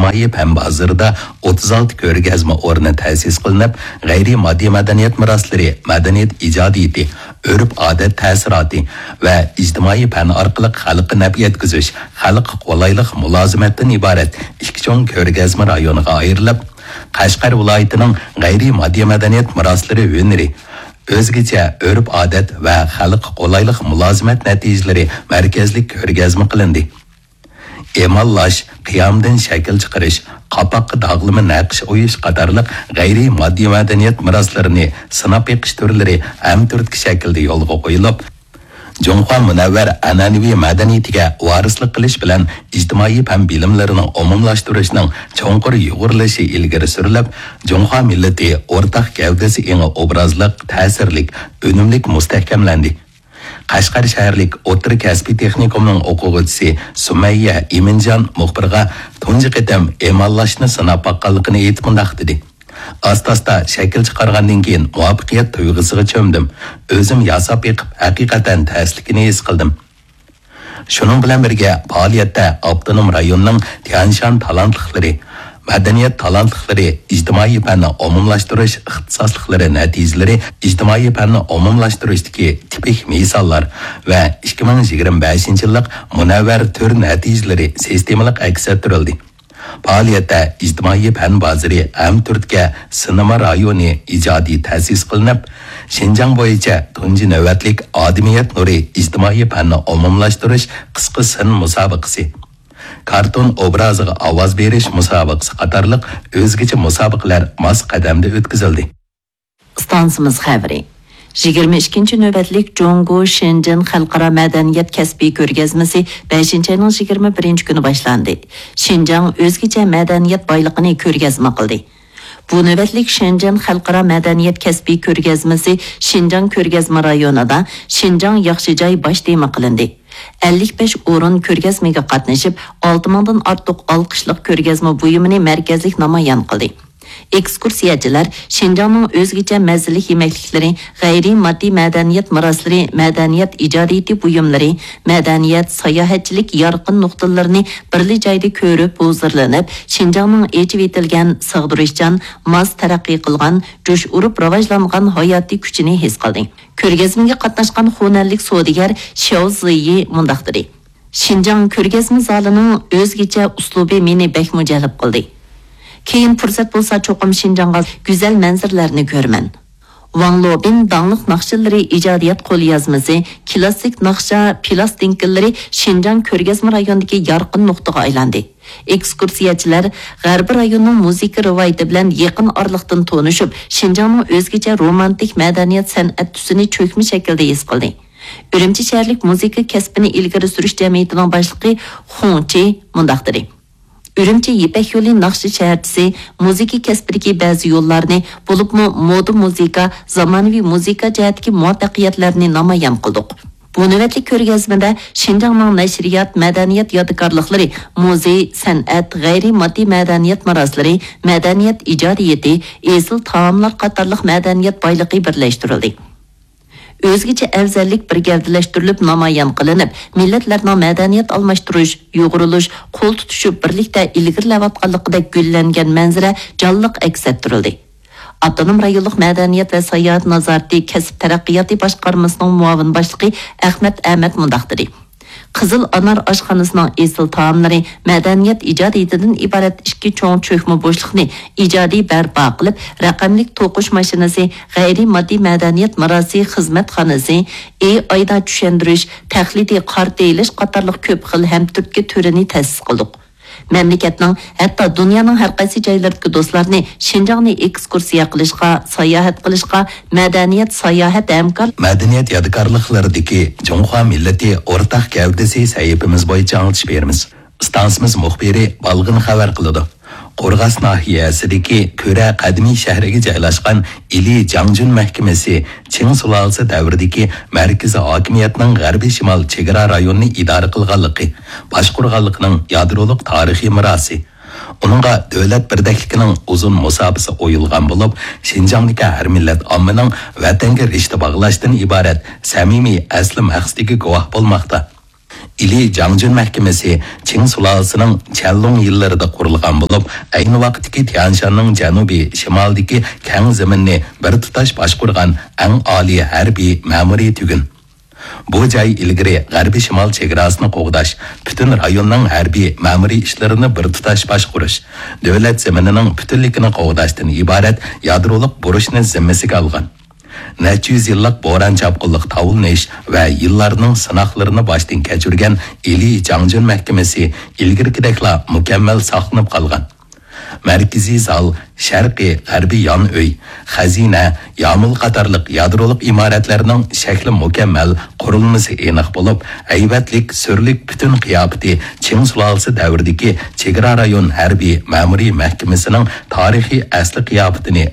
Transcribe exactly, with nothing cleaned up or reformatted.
ئىجتىمائىي پەن بازىرىدا ئوتتۇز ئالتە كۆرگەزمە ئورنى تەسىس قىلىنىپ، غەيرىي ماددىي مەدەنىيەت مىراسلىرى، مەدەنىيەت ئىجادىيىتى، ئۆرپ-ئادەت تەسىراتى ۋە ئىجتىمائىي پەن ئارقىلىق خەلققە نەپ يەتكۈزۈش، خەلققە قولايلىق مۇلازىمەتتىن ئىبارەت ئىككى چوڭ كۆرگەزمە رايونىغا ئايرىلىپ، قەشقەر ۋىلايىتىنىڭ غەيرىي ماددىي مەدەنىيەت مىراسلىرى ھۈنىرى، ئۆزگىچە ئۆرپ-ئادەت ۋە خەلققە قولايلىق مۇلازىمەت نەتىجىلىرى مەركەزلىك كۆرگەزمە قىلىندى. ئېماللاش، قىيامدىن شەكىل چىقىرىش، قاپاققا داغلىما نەقىش ئويۇش قاتارلىق غەيرىي ماددىي مەدەنىيەت مىراسلىرىنى سىناپ بېقىش تۈرلىرى ھەمتۈرتكە شەكىلدە يولغا قويۇلۇپ، جۇڭخۇا مۇنەۋۋەر ئەنئەنىۋى مەدەنىيىتىگە ۋارىسلىق قىلىش بىلەن ئىجتىمائىي پەن بىلىملىرىنىڭ ئومۇملاشتۇرۇشنىڭ چوڭقۇر يۇغۇرۇلۇشى ئىلگىرى سۈرۈلۈپ، جۇڭخۇا مىللىتى ئورتاق گەۋدىسى ئېڭى ئوبرازلىق، تەسىرلىك، ئۈنۈملۈك مۇستەھكەملەندى. قەشقەر شەھەرلىك ئوتتۇرا كەسپىي تېخنىكومنىڭ ئوقۇغۇچىسى سۈمەييە ئىمىنجان مۇخبىرغا تۇنجى قېتىم ئېماللاشنى سىناپ باققانلىقىنى ئېيتىپ مۇنداق دېدى: ئاستا-ئاستا شەكىل چىقارغاندىن كېيىن مۇۋەپپەقىيەت تۇيغۇسىغا چۆمدۈم. ئۆزۈم ياساپ بېقىپ ھەقىقەتەن تەسلىكىنى ھېس قىلدىم. شۇنىڭ بىلەن بىرگە، پائالىيەتتە ئاپتونوم رايوننىڭ تيەنشان تالانتلىقلىرى، مەدەنىيەت تالانتلىقلىرى، ئىجتىمائىي پەننى ئومۇملاشتۇرۇش ئىختىساسلىقلىرى نەتىجىلىرى، ئىجتىمائىي پەننى ئومۇملاشتۇرۇشتىكى تىپىك مىساللار ۋە ئىككى مىڭ يىگىرمە بەشىنچى يىللىق مۇنەۋۋەر تۈر نەتىجىلىرى سىستېمىلىق ئەكس ئەتتۈرۈلدى. پائالىيەتتە ئىجتىمائىي پەن بازىرى ھەم تۈرتكە سىنىما رايونى ئىجادىي تەسىس قىلىنىپ، شىنجاڭ بويىچە تۇنجى نۆۋەتلىك ئادىمىيەت نۇرى ئىجتىمائىي پەننى ئومۇملاشتۇرۇش قىسقا سىن مۇسابىقىسى، كارتون ئوبرازىغا ئاۋاز بېرىش مۇسابىقىسى قاتارلىق ئۆزگىچە مۇسابىقىلەر ماس قەدەمدە ئۆتكۈزۈلدى. ئىستانسىمىز خەۋىرى. يىگىرمە ئىككىنچى نۆۋەتلىك جۇڭگو شېنجېن خەلقئارا مەدەنىيەت كەسپىي كۆرگەزمىسى بەشىنچى ئاينىڭ يىگىرمە بىرىنچى كۈنى باشلاندى. شىنجاڭ ئۆزگىچە مەدەنىيەت بايلىقىنى كۆرگەزمە قىلدى. بۇ نۆۋەتلىك شېنجېن خەلقئارا مەدەنىيەت كەسپىي كۆرگەزمىسى شىنجاڭ كۆرگەزمە رايونىدا شىنجاڭ ياخشى جاي باش تېما قىلىندى. ئەللىك بەش ئورۇن كۆرگەزمىگە قاتنىشىپ، ئالتە مىڭدىن ئارتۇق ئالقىشلىق كۆرگەزمە بۇيۇمىنى مەركەزلىك نامايان قىلدى. ئېكسكۇرسىيەچىلەر شىنجاڭنىڭ ئۆزگىچە مەززىلىك يېمەكلىكلىرى، غەيرىي ماددىي مەدەنىيەت مىراسلىرى، مەدەنىيەت ئىجادىيىتى بۇيۇملىرى، مەدەنىيەت، ساياھەتچىلىك يارقىن نۇقتىلىرىنى بىرلا جايدا كۆرۈپ ھۇزۇرلىنىپ، شىنجاڭنىڭ ئېچىۋېتىلگەن، سىغدۇرۇشچان، ماس تەرەققىي قىلغان، جۇش ئۇرۇپ راۋاجلانغان ھاياتىي كۈچىنى ھېس قىلدى. كۆرگەزمىگە قاتناشقان خۇنەنلىك سودىگەر شياۋ زىيى مۇنداق دېدى: شىنجاڭ كۆرگەزمە زالىنىڭ ئۆزگىچە ئۇسلۇبى مېنى بەكمۇ جەلپ قىلدى. كېيىن پۇرسەت بولسا، چوقۇم شىنجاڭغا گۈزەل مەنزىرىلەرنى كۆرىمەن. ۋاڭ لوبىن داڭلىق ناخشىلىرى ئىجادىيەت قوليازمىسى، كلاسسىك ناخشا پىلاستىنكىلىرى شىنجاڭ كۆرگەزمە رايونىدىكى يارقىن نۇقتىغا ئايلاندى. ئېكسكۇرسىيەچىلەر غەربىي رايوننىڭ مۇزىكا رىۋايىتى بىلەن يېقىن ئارىلىقتىن تونۇشۇپ، شىنجاڭنىڭ ئۆزگىچە رومانتىك مەدەنىيەت سەنئەت تۈسىنى چۆكمە شەكىلدە ھېس قىلدى. ئۈرۈمچى شەھەرلىك مۇزىكا كەسپىنى ئىلگىرى سۈرۈش جەمئىيىتىنىڭ باشلىقى خۇڭ چى مۇنداق دېدى: ئۈرۈمچى يىپەك يولى ناخشا شەھەرچىسى مۇزىكا كەسپىدىكى بەزى يوللارنى، بولۇپمۇ مودا مۇزىكا، زامانىۋى مۇزىكا جەھەتتىكى مۇۋەپپەقىيەتلەرنى نامايان قىلدۇق. بۇ نۆۋەتلىك كۆرگەزمىدە شىنجاڭنىڭ نەشرىيات، مەدەنىيەت يادىكارلىقلىرى، مۇزېي، سەنئەت، غەيرىي ماددىي مەدەنىيەت مىراسلىرى، مەدەنىيەت ئىجادىيىتى، ئېسىل تائاملار قاتارلىق مەدەنىيەت بايلىقى بىرلەشتۈرۈلدى. ئۆزگىچە ئەۋزەللىك بىر گەۋدىلەشتۈرۈلۈپ نامايان قىلىنىپ، مىللەتلەرنىڭ مەدەنىيەت ئالماشتۇرۇش، يۇغۇرۇلۇش، قول تۇتۇشۇپ بىرلىكتە ئىلگىرىلەۋاتقانلىقىدەك گۈللەنگەن مەنزىرە جانلىق ئەكس ئەتتۈرۈلدى. ئاپتونوم رايونلۇق مەدەنىيەت ۋە ساياھەت نازارىتى كەسىپ تەرەققىياتى باشقارمىسىنىڭ مۇئاۋىن باشلىقى ئەخمەت ئەمەت مۇنداق دېدى: قىزىل ئانار ئاشخانىسىنىڭ ئېسىل تائاملىرى، مەدەنىيەت ئىجادىيىتىدىن ئىبارەت ئىككى چوڭ چۆكمە بوشلۇقنى ئىجادىي بەرپا قىلىپ، رەقەملىك توقۇش ماشىنىسى، غەيرىي ماددىي مەدەنىيەت مىراسى خىزمەتخانىسى، ئېي ئايدا چۈشەندۈرۈش، تەقلىدىي قارتا ئېلىش قاتارلىق كۆپ خىل ھەمتۈرتكە تۈرىنى تەسىس قىلدۇق. مەملىكەتنىڭ، ھەتتا دۇنيانىڭ ھەر قايسى جايلىرىدىكى دوستلارنى شىنجاڭنى ئېكسكۇرسىيە قىلىشقا، ساياھەت قىلىشقا، مەدەنىيەت، ساياھەت ھەمكار مەدەنىيەت يادىكارلىقلىرىدىكى جۇڭخۇا مىللىتى ئورتاق گەۋدىسى سەھىپىمىز بويىچە ئاڭلىتىش بېرىمىز. ئىستانسىمىز مۇخبىرى بالغىن خەۋەر قىلىدۇ. قورغاس ناھىيەسىدىكى كۈرە قەدىمىي شەھىرىگە جايلاشقان ئىلى جاڭجۈن مەھكىمىسى چىڭ سۇلالىسى دەۋرىدىكى مەركىزىي ھاكىمىيەتنىڭ غەربىي شىمال چېگرا رايونىنى ئىدارە قىلغانلىقى، باشقۇرغانلىقىنىڭ يادرولۇق تارىخىي مىراسى. ئۇنىڭغا دۆلەت بىردەكلىكىنىڭ ئۇزۇن مۇساپىسى ئويۇلغان بولۇپ، شىنجاڭدىكى ھەر مىللەت ئاممىنىڭ ۋەتەنگە رىشتە باغلاشتىن ئىبارەت سەمىمىي ئەسلى مەقسىتىگە گۇۋاھ بولماقتا. ئىلى جاڭجۈن مەھكىمىسى چىڭ سۇلالىسىنىڭ چيەنلۇڭ يىللىرىدا قۇرۇلغان بولۇپ، ئەينى ۋاقىتتىكى تيەنشاننىڭ جەنۇبىي شىمالىدىكى كەڭ زېمىننى بىر تۇتاش باشقۇرغان ئەڭ ئالىي ھەربىي مەمۇرىي تۈگۈن. بۇ جاي ئىلگىرى غەربىي شىمال چېگراسىنى قوغداش، پۈتۈن رايوننىڭ ھەربىي مەمۇرىي ئىشلىرىنى بىر تۇتاش باشقۇرۇش، دۆلەت زېمىنىنىڭ پۈتۈنلۈكىنى قوغداشتىن ئىبارەت يادرولۇق بۇرچنى زىممىسىگە ئالغان. نەچچە يۈز يىللىق بوران-چاپقۇنلۇق تاۋلىنىش ۋە يىللارنىڭ سىناقلىرىنى باشتىن كەچۈرگەن ئىلى جاڭجۈن مەھكىمىسى ئىلگىرىكىدەكلا مۇكەممەل ساقلىنىپ قالغان. مەركىزىي زال، شەرقىي، غەربىي يان ئۆي، خەزىنە، يامۇل قاتارلىق يادرولۇق ئىمارەتلەرنىڭ شەكلى مۇكەممەل، قۇرۇلمىسى ئېنىق بولۇپ، ھەيۋەتلىك، سۈرلۈك پۈتۈن قىياپىتى چىڭ سۇلالىسى دەۋرىدىكى چېگرا رايون ھەربىي مەمۇرىي مەھكىمىسىنىڭ تارىخىي ئەسلى قىياپىتىنى